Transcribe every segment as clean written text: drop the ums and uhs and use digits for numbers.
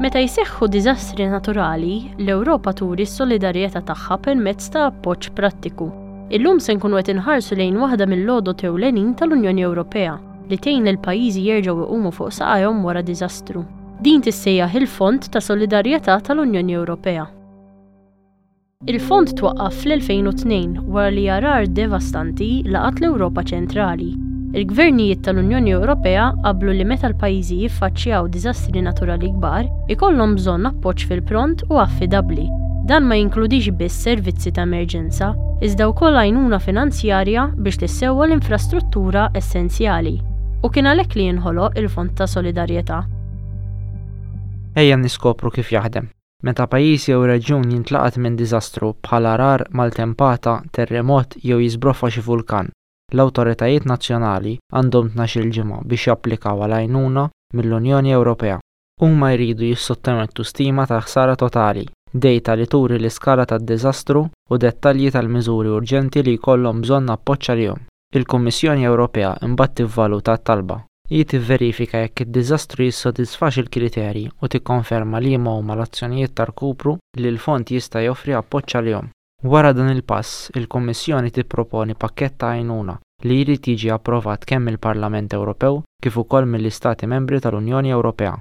Meta jseħħu diżastri naturali, l-Ewropa turi s-solidarjetà tagħha permezz ta' appoġġ prattiku. Illum se nkunu qed inħarsu lejn waħda mill-għodod ewlenin tal-Unjoni Ewropea li tgħin lill-pajjiżi jerġgħu jqumu fuq saqajhom wara diżastru. Din tissejjaħ il-Fond ta' Solidarjetà tal-Unjoni Ewropea. Il-fond twaqqaf fl-2002 wara li għargħar devastanti laqat l-Ewropa ċentrali. Il-gvernijiet tal-Unjoni Ewropea qablu li meta l-pajjiżi jiffaċċjaw diżastri naturali kbar, ikollhom bżonn appoġġ fil-pront u affidabbli. Dan ma jinkludix biss servizzi ta' emerġenza, iżda wkoll għajnuna finanzjarja biex tissewwa l-infrastruttura essenzjali. U kien għalhekk li inħoloq il-Fond ta' Solidarjetà. Ejja niskopru kif jaħdem. Meta pajjiż jew reġjun jintlaqat minn diżastru bħal għargħar, maltempata, terremot jew jiżbroffa xi vulkan, l-awtoritajiet nazzjonali għandhom tnax-il ġimgħa biex japplikaw għal għajnuna mill-Unjoni Ewropea. Huma jridu jissottomettu stima tal-ħsara totali, dejta li turi l-iskala tad-diżastru u dettalji tal-miżuri urġenti li jkollhom bżonn appoġġ għalihom. Il-Kummissjoni Ewropea imbagħad tivvaluta t-talba. Hi tivverifika jekk id-diżastru jissodisfax il-kriterji u tikkonferma liema huma l-azzjonijiet ta' rkupru li l-Fond jista' joffri appoġġ għalihom. Wara dan il-pass, il-Kummissjoni tipproponi pakkett ta' għajnuna li jrid jiġi approvat kemm mill-Parlament Ewropew kif ukoll mill-Istati Membri tal-Unjoni Ewropea.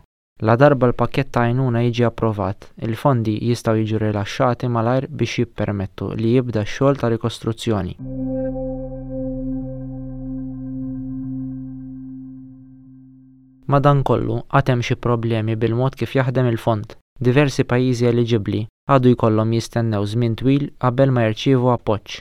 Ladarba l-pakkett ta' għajnuna jiġi approvat, il-fondi jistgħu jiġu rilaxxati malajr biex jippermettu li jibda x-xogħol ta' rikostruzzjoni. Madankollu, għad hemm xi problemi bil-mod kif jaħdem il-fond. Diversi pajjiżi eliġibbli għadu jkollhom jistennew żmien twil qabel ma jirċievu appoġġ.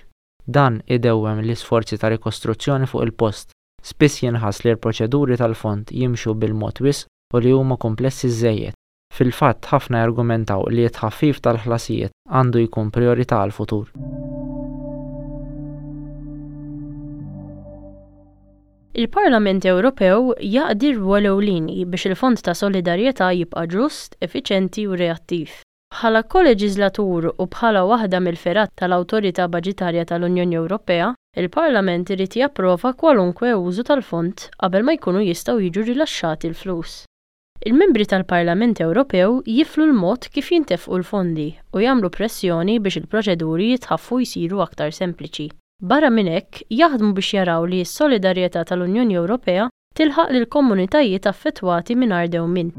Dan idewwem l-isforzi ta' rikostruzzjoni fuq il-post. Spiss jinħass li l-proċeduri tal-fond jimxu bil-mod wisq u li huma kumplessi żżejjed. Fil-fatt, ħafna jargumentaw li t-tħaffif tal-ħlasijiet għandu jkun prijorità għall-futur. Il-Parlament Ewropew jaqdi rwol ewlieni biex il-Fond ta' Solidarjetà jibqa' ġust, effiċenti u reattiv. Bħala koleġiżlatur u bħala waħda mill-fergħat tal-awtorità baġitarja tal-Unjoni Ewropea, il-Parlament irid japprova kwalunkwe użu tal-fond qabel ma jkunu jistgħu jiġu rilaxxati l-flus. Il-Membri tal-Parlament Ewropew jiflu l-mod kif jintefqu l-fondi u jagħmlu pressjoni biex il-proċeduri jitħaffu u jsiru aktar sempliċi. Barra minn hekk, jaħdmu biex jaraw li s-solidarjetà tal-Unjoni Ewropea tilħaq lill-komunitajiet affettwati mingħajr dewmien.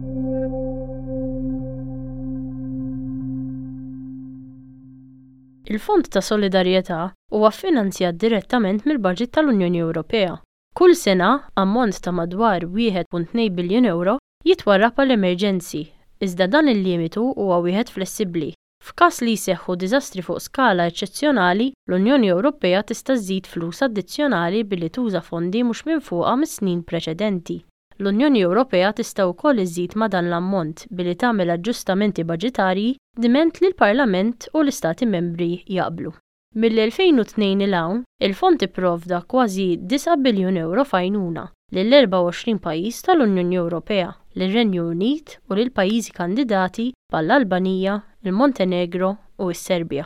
Il-Fond ta' Solidarjetà huwa ffinanzjat direttament mill-baġit tal-Unjoni Ewropea. Kull sena, ammont ta' madwar 1.2 biljun ewro jitwarrab għal emerġenzi, iżda dan il-limitu huwa wieħed flessibbli. F'każ li jseħħu diżastri fuq skala eċċezzjonali, l-Unjoni Ewropea tista' żżid flus addizzjonali billi tuża fondi mhux minfuqa mis-snin preċedenti. L-Unjoni Ewropea tista' wkoll iżżid ma' dan l-ammont billi tagħmel aġġustamenti baġitarji diment li l-Parlament u l-Istati Membri jaqblu. Mill-2002 'l hawn, il-Fond ipprovda kważi disa' biljun ewro f'għajnuna lil 24 pajjiż tal-Unjoni Ewropea, lir-Renju Unit u lil pajjiżi kandidati bħall-Albanija, il-Montenegro u s-Serbja.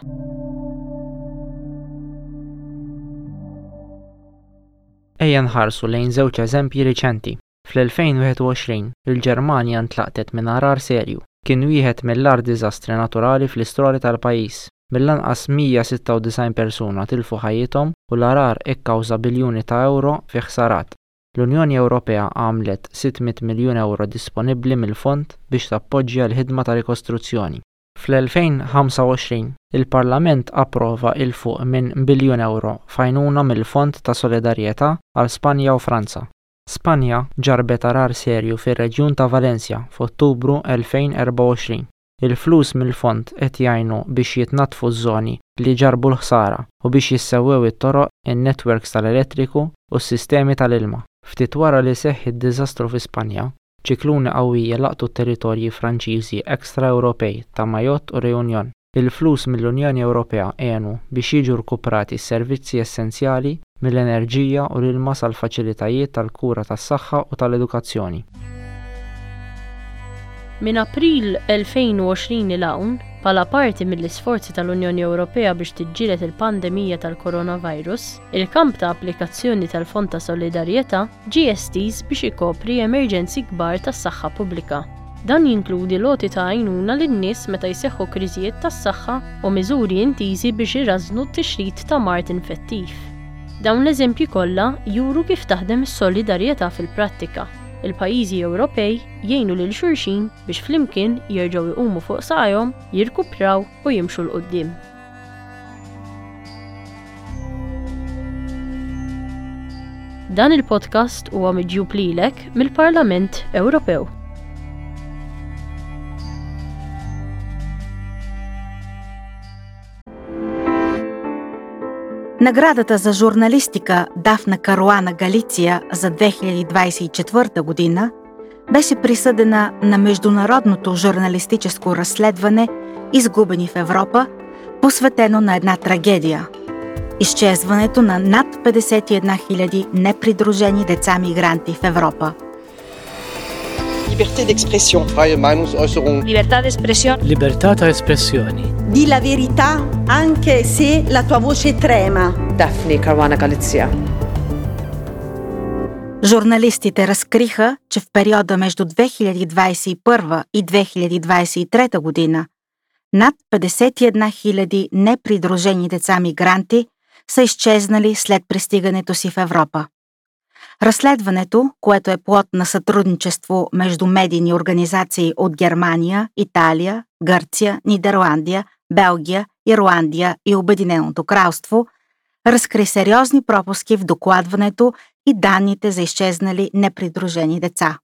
Ejja nħarsu lejn żewġ eżempji riċenti. Fl-2021, il-Ġermanja ntlaqtet minn għargħar serju. Kien wieħed mill-agħar diżastri naturali fl-istorja tal-pajjiż. Mill-anqas 196 persuna tilfu ħajjithom u l-għargħar ikkawża biljuni ta' ewro fi ħsarat. L-Unjoni Ewropea għamlet 600 miljun ewro disponibbli mill-fond biex tappoġġja l-ħidma ta' rikostruzzjoni. Fl-2025, il-Parlament approva 'il fuq minn biljun ewro f'għajnuna mill-Fond ta' Solidarjetà għal Spanja u Franza. Spanja ġarrbet għargħar serju fir-reġjun ta' Valencia f'Ottubru 2024. Il-flus mill-fond qed jgħinu biex jitnaddfu ż-żoni li ġarrbu l-ħsara u biex jissewwew it-toroq, in-netwerks tal-elettriku u s-sistemi tal-ilma. Ftit wara li seħħ id-diżastru fi Spanja, ċikluni qawwija laqtu t-territorji Franċiżi extra-Ewropej ta' Mayotte u Réunion. Il-flus mill-Unjoni Ewropea għenu biex jiġu rkuprati s-servizzi essenzjali, mill-enerġija u l-ilma sal-faċilitajiet tal-kura tas-saħħa u tal-edukazzjoni. Minn April 2020 'il hawn, bħala parti mill-isforzi tal-Unjoni Ewropea biex tiġġieled il-pandemija tal-coronavirus, il-kamp ta' applikazzjoni tal-Fond ta' Solidarjetà ġie estiż biex ikopri emerġenzi kbar tas-saħħa pubblika. Dan jinkludi l-għoti ta' għajnuna lin-nies meta jseħħu kriżijiet tas-saħħa u miżuri intiżi biex irażżnu t-tixrid ta' mard infettiv. Dawn l-eżempji kollha juru kif taħdem is-solidarjetà fil-prattika. Il-pajjiżi Ewropej jgħinu lil xulxin biex flimkien jerġgħu jqumu fuq saqajhom, jirkupraw u jimxu 'l quddiem. Dan il-podcast huwa miġjub lilek mill-Parlament Ewropew. Наградата за журналистика Дафна Каруана Галиция за 2024 година беше присъдена на международното журналистическо разследване „Изгубени в Европа“, посветено на една трагедия – изчезването на над 51 000 непридружени деца-мигранти в Европа. Liberté d'expression. Freie Meinungsäußerung. Libertà d'espressione. Libertà ta' espressjoni. Di la verità anche se la tua voce trema. Daphne Caruana Galizia. Журналистите разкриха, че в периода между 2021 и 2023 година над 51 000 непридружени деца-мигранти са изчезнали след пристигането си в Европа. Разследването, което е плод на сътрудничество между медийни организации от Германия, Италия, Гърция, Нидерландия, Белгия, Ирландия и Обединеното кралство, разкри сериозни пропуски в докладването и данните за изчезнали непридружени деца.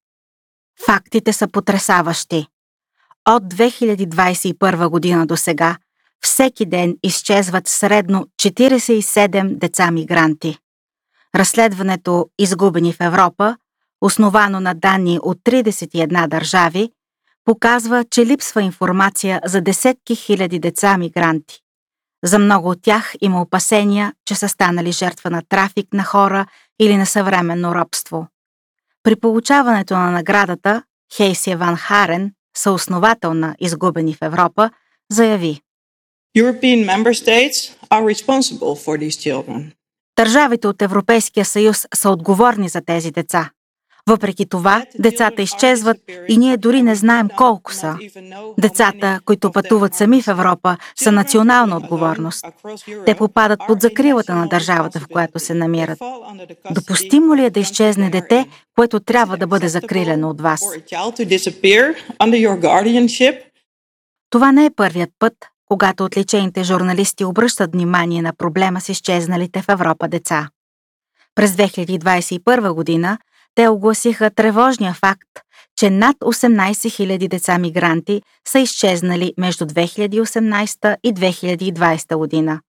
Фактите са потресаващи. От 2021 година до сега всеки ден изчезват средно 47 деца-мигранти. Разследването „Изгубени в Европа“, основано на данни от 31 държави, показва, че липсва информация за десетки хиляди деца-мигранти. За много от тях има опасения, че са станали жертва на трафик на хора или на съвременно робство. При получаването на наградата, Хейсия Ван Харен, съосновател на „Изгубени в Европа", заяви: European member states are responsible for these children. Държавите от Европейския съюз са отговорни за тези деца. Въпреки това, децата изчезват и ние дори не знаем колко са. Децата, които пътуват сами в Европа, са национална отговорност. Те попадат под закрилата на държавата, в която се намират. Допустимо ли е да изчезне дете, което трябва да бъде закрилено от вас? Това не е първият път, когато отличените журналисти обръщат внимание на проблема с изчезналите в Европа деца. През 2021 година те огласиха тревожния факт, че над 18 000 деца мигранти са изчезнали между 2018 и 2020 година.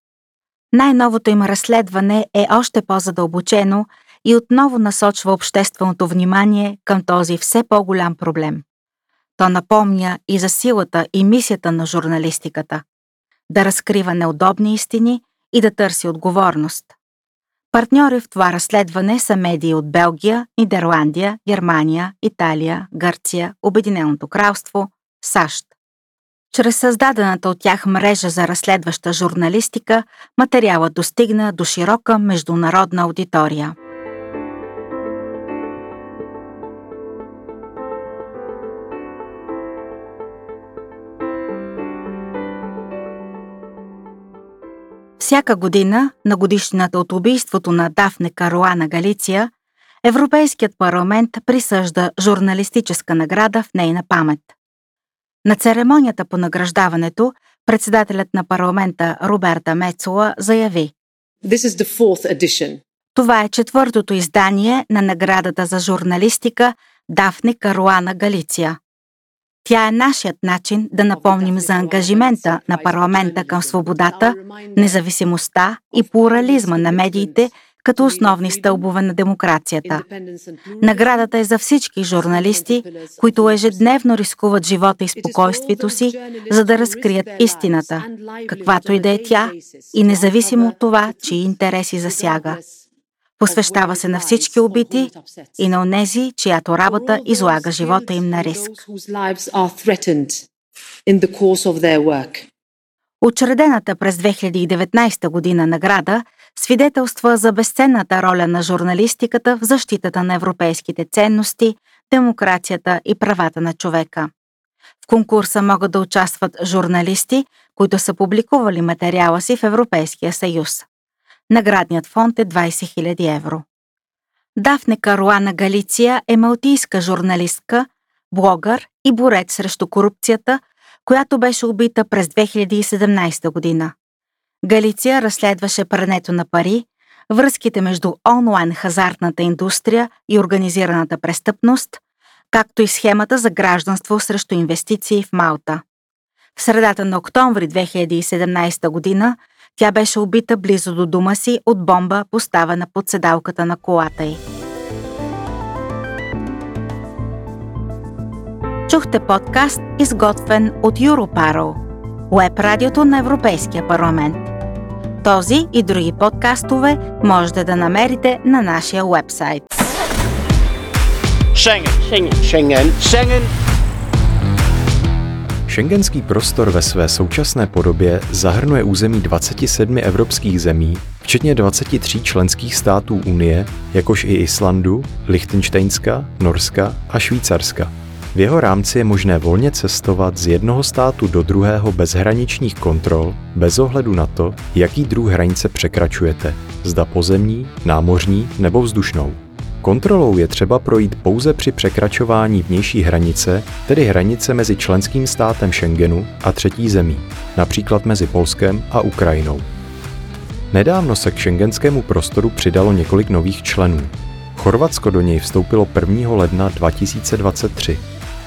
Най-новото им разследване е още по-задълбочено и отново насочва общественото внимание към този все по-голям проблем. То напомня и за силата и мисията на журналистиката – да разкрива неудобни истини и да търси отговорност. Партньори в това разследване са медии от Белгия, Нидерландия, Германия, Италия, Гърция, Обединеното кралство, САЩ. Чрез създадената от тях мрежа за разследваща журналистика, материалът достигна до широка международна аудитория. Всяка година, на годишнината от убийството на Дафне Каруана Галиция, Европейският парламент присъжда журналистическа награда в нейна памет. На церемонията по награждаването председателят на парламента Роберта Мецола заяви: This is the fourth edition. Това е четвъртото издание на наградата за журналистика Дафне Каруана Галиция. Тя е нашият начин да напомним за ангажимента на парламента към свободата, независимостта и плурализма на медиите като основни стълбове на демокрацията. Наградата е за всички журналисти, които ежедневно рискуват живота и спокойствието си, за да разкрият истината, каквато и да е тя, и независимо от това, чии интереси засяга. Посвещава се на всички убити и на онези, чиято работа излага живота им на риск. Учредената през 2019 година награда свидетелства за безценната роля на журналистиката в защитата на европейските ценности, демокрацията и правата на човека. В конкурса могат да участват журналисти, които са публикували материала си в Европейския съюз. Наградният фонд е 20 000 евро. Дафне Каруана Галиция е малтийска журналистка, блогър и борец срещу корупцията, която беше убита през 2017 година. Галиция разследваше прането на пари, връзките между онлайн хазартната индустрия и организираната престъпност, както и схемата за гражданство срещу инвестиции в Малта. В средата на октомври 2017 година тя беше убита близо до дома си от бомба, поставена под седалката на колата й. Чухте подкаст, изготвен от Europarl, уеб радиото на Европейския парламент. Този и други подкастове можете да намерите на нашия уебсайт. Schengen. Schengen. Schengen. Schengen. Schengenský prostor ve své současné podobě zahrnuje území 27 evropských zemí, včetně 23 členských států Unie, jakož i Islandu, Lichtenštejnska, Norska a Švýcarska. V jeho rámci je možné volně cestovat z jednoho státu do druhého bez hraničních kontrol, bez ohledu na to, jaký druh hranice překračujete, zda pozemní, námořní nebo vzdušnou. Kontrolou je třeba projít pouze při překračování vnější hranice, tedy hranice mezi členským státem Schengenu a třetí zemí, například mezi Polskem a Ukrajinou. Nedávno se k schengenskému prostoru přidalo několik nových členů. Chorvatsko do něj vstoupilo 1. ledna 2023.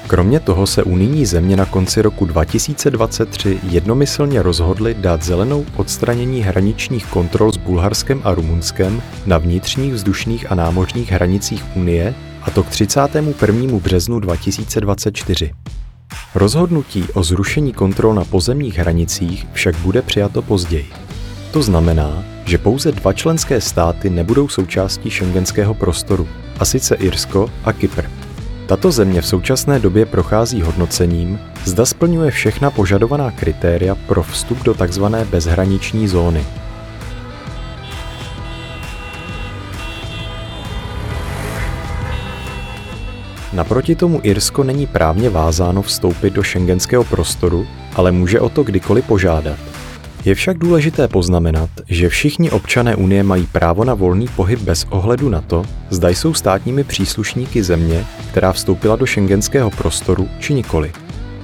Kromě toho se unijní země na konci roku 2023 jednomyslně rozhodly dát zelenou odstranění hraničních kontrol s Bulharskem a Rumunskem na vnitřních vzdušných a námořních hranicích Unie, a to k 31. březnu 2024. Rozhodnutí o zrušení kontrol na pozemních hranicích však bude přijato později. To znamená, že pouze dva členské státy nebudou součástí schengenského prostoru, a sice Irsko a Kypr. Tato země v současné době prochází hodnocením, zda splňuje všechna požadovaná kritéria pro vstup do tzv. Bezhraniční zóny. Naproti tomu Irsko není právně vázáno vstoupit do schengenského prostoru, ale může o to kdykoliv požádat. Je však důležité poznamenat, že všichni občané Unie mají právo na volný pohyb bez ohledu na to, zda jsou státními příslušníky země, která vstoupila do schengenského prostoru, či nikoli.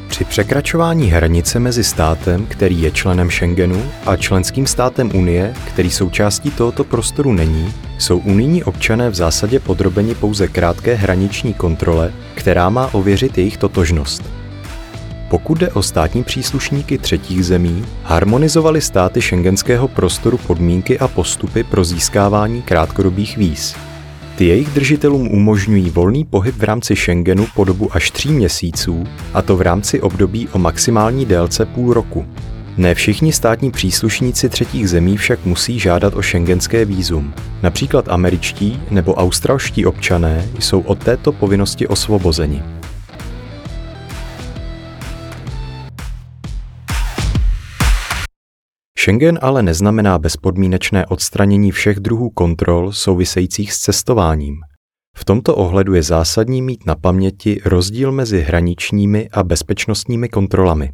Při překračování hranice mezi státem, který je členem Schengenu, a členským státem Unie, který součástí tohoto prostoru není, jsou unijní občané v zásadě podrobeni pouze krátké hraniční kontrole, která má ověřit jejich totožnost. Pokud jde o státní příslušníky třetích zemí, harmonizovaly státy schengenského prostoru podmínky a postupy pro získávání krátkodobých víz. Ty jejich držitelům umožňují volný pohyb v rámci Schengenu po dobu až 3 měsíců, a to v rámci období o maximální délce půl roku. Ne všichni státní příslušníci třetích zemí však musí žádat o schengenské vízum. Například američtí nebo australští občané jsou od této povinnosti osvobozeni. Schengen ale neznamená bezpodmínečné odstranění všech druhů kontrol souvisejících s cestováním. V tomto ohledu je zásadní mít na paměti rozdíl mezi hraničními a bezpečnostními kontrolami.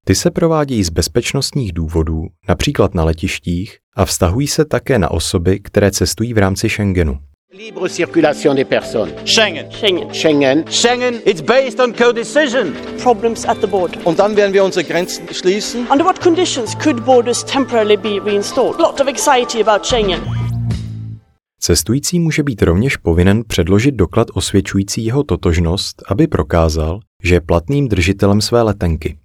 Ty se provádějí z bezpečnostních důvodů, například na letištích, a vztahují se také na osoby, které cestují v rámci Schengenu. Libre circulation des personnes. Schengen. Schengen. Schengen. Schengen. It's based on co-decision. Problems at the border. Und dann werden wir unsere Grenzen schließen. Under what conditions could borders temporarily be reinstalled? A lot of anxiety about Schengen. Cestující může být rovněž povinen předložit doklad osvědčující jeho totožnost, aby prokázal, že je platným držitelem své letenky.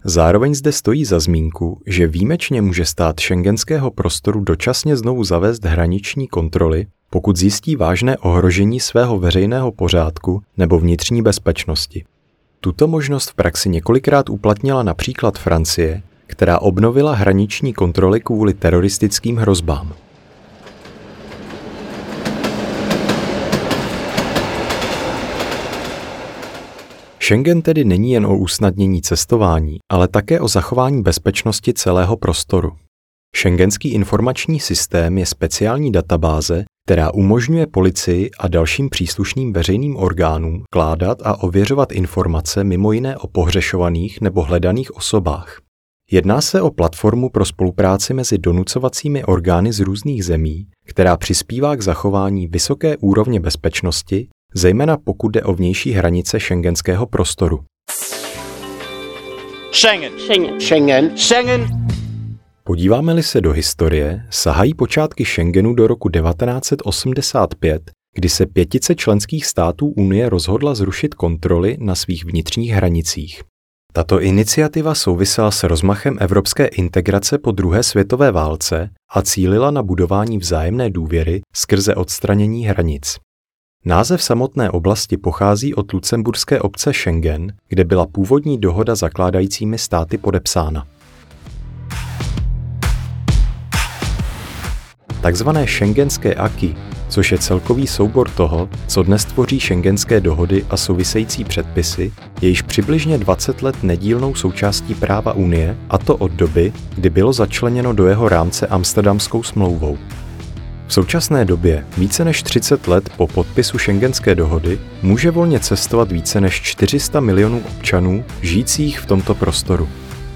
Zároveň zde stojí za zmínku, že výjimečně může stát schengenského prostoru dočasně znovu zavést hraniční kontroly, pokud zjistí vážné ohrožení svého veřejného pořádku nebo vnitřní bezpečnosti. Tuto možnost v praxi několikrát uplatnila například Francie, která obnovila hraniční kontroly kvůli teroristickým hrozbám. Schengen tedy není jen o usnadnění cestování, ale také o zachování bezpečnosti celého prostoru. Schengenský informační systém je speciální databáze, která umožňuje policii a dalším příslušným veřejným orgánům vkládat a ověřovat informace mimo jiné o pohřešovaných nebo hledaných osobách. Jedná se o platformu pro spolupráci mezi donucovacími orgány z různých zemí, která přispívá k zachování vysoké úrovně bezpečnosti, zejména pokud jde o vnější hranice schengenského prostoru. Schengen. Schengen. Schengen. Schengen. Podíváme-li se do historie, sahají počátky Schengenu do roku 1985, kdy se pětice členských států Unie rozhodla zrušit kontroly na svých vnitřních hranicích. Tato iniciativa souvisela s rozmachem evropské integrace po druhé světové válce a cílila na budování vzájemné důvěry skrze odstranění hranic. Název samotné oblasti pochází od lucemburské obce Schengen, kde byla původní dohoda zakládajícími státy podepsána. Takzvané schengenské acquis, což je celkový soubor toho, co dnes tvoří schengenské dohody a související předpisy, je již přibližně 20 let nedílnou součástí práva Unie, a to od doby, kdy bylo začleněno do jeho rámce Amsterdamskou smlouvou. V současné době, více než 30 let po podpisu schengenské dohody, může volně cestovat více než 400 milionů občanů žijících v tomto prostoru.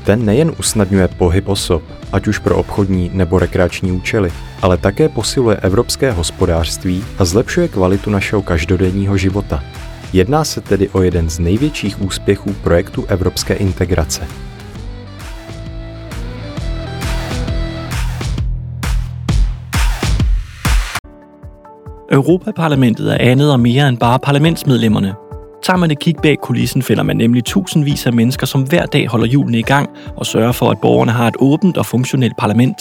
Ten nejen usnadňuje pohyb osob, ať už pro obchodní nebo rekreační účely, ale také posiluje evropské hospodářství a zlepšuje kvalitu našeho každodenního života. Jedná se tedy o jeden z největších úspěchů projektu evropské integrace. Europaparlamentet er andet og mere end bare parlamentsmedlemmerne. Tager man et kig bag kulissen, finder man nemlig tusindvis af mennesker, som hver dag holder hjulene i gang og sørger for, at borgerne har et åbent og funktionelt parlament.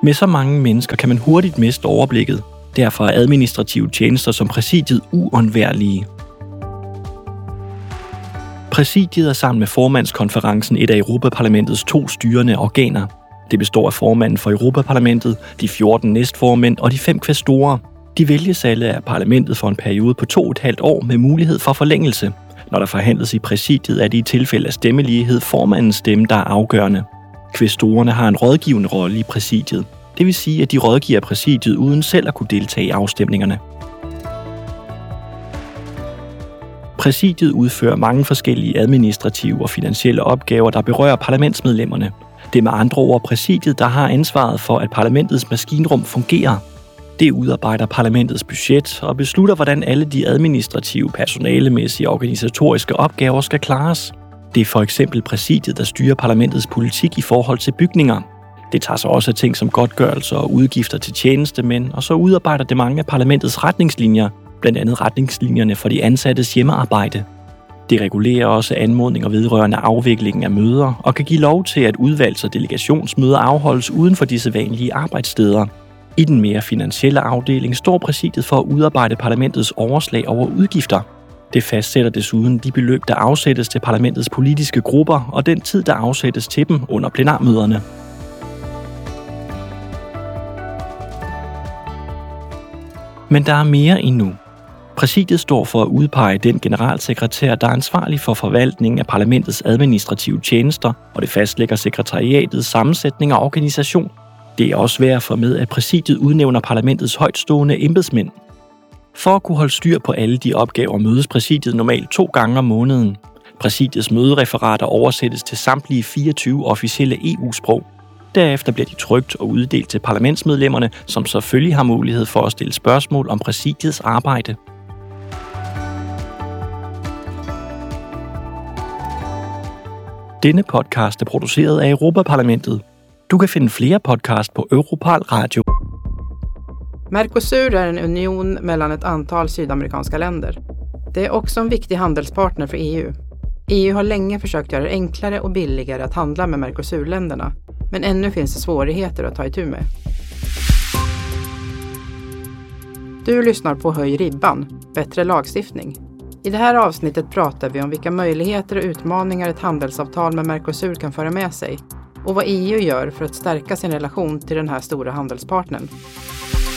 Med så mange mennesker kan man hurtigt miste overblikket. Derfor er administrative tjenester som præsidiet uundværlige. Præsidiet er sammen med formandskonferencen et af Europaparlamentets to styrende organer. Det består af formanden for Europaparlamentet, de 14 næstformænd og de 5 kvæstorer. De vælges alle af parlamentet for en periode på 2,5 år med mulighed for forlængelse. Når der forhandles i præsidiet, er det i tilfælde af stemmelighed formandens stemme, der er afgørende. Kvæstorerne har en rådgivende rolle i præsidiet. Det vil sige, at de rådgiver præsidiet uden selv at kunne deltage i afstemningerne. Præsidiet udfører mange forskellige administrative og finansielle opgaver, der berører parlamentsmedlemmerne. Det er med andre ord præsidiet, der har ansvaret for, at parlamentets maskinrum fungerer. Det udarbejder parlamentets budget og beslutter, hvordan alle de administrative, personalemæssige og organisatoriske opgaver skal klares. Det er for eksempel præsidiet, der styrer parlamentets politik i forhold til bygninger. Det tager sig også af ting som godtgørelser og udgifter til tjenestemænd, og så udarbejder det mange af parlamentets retningslinjer, blandt andet retningslinjerne for de ansattes hjemmearbejde. Det regulerer også anmodninger vedrørende afviklingen af møder og kan give lov til, at udvalgs- og delegationsmøder afholdes uden for de sædvanlige arbejdssteder. I den mere finansielle afdeling står præsidiet for at udarbejde parlamentets overslag over udgifter. Det fastsætter desuden de beløb, der afsættes til parlamentets politiske grupper og den tid, der afsættes til dem under plenarmøderne. Men der er mere endnu. Præsidiet står for at udpege den generalsekretær, der er ansvarlig for forvaltningen af parlamentets administrative tjenester, og det fastlægger sekretariatets sammensætning og organisation. Det er også værd at få med, at præsidiet udnævner parlamentets højtstående embedsmænd. For at kunne holde styr på alle de opgaver, mødes præsidiet normalt 2 gange om måneden. Præsidiets mødereferater oversættes til samtlige 24 officielle EU-sprog. Derefter bliver de trykt og uddelt til parlamentsmedlemmerne, som selvfølgelig har mulighed for at stille spørgsmål om præsidiets arbejde. Denne podcast er produceret af Europaparlamentet. Du kan finde flere podcast på Europarl Radio. Mercosur är en union mellan ett antal sydamerikanska länder. Det är också en viktig handelspartner för EU. EU har länge försökt göra det enklare och billigare att handla med Mercosur-länderna, men ännu finns det svårigheter att ta itu med. Du lyssnar på Höj ribban, bättre lagstiftning. I det här avsnittet pratar vi om vilka möjligheter och utmaningar ett handelsavtal med Mercosur kan föra med sig och vad EU gör för att stärka sin relation till den här stora handelspartnern.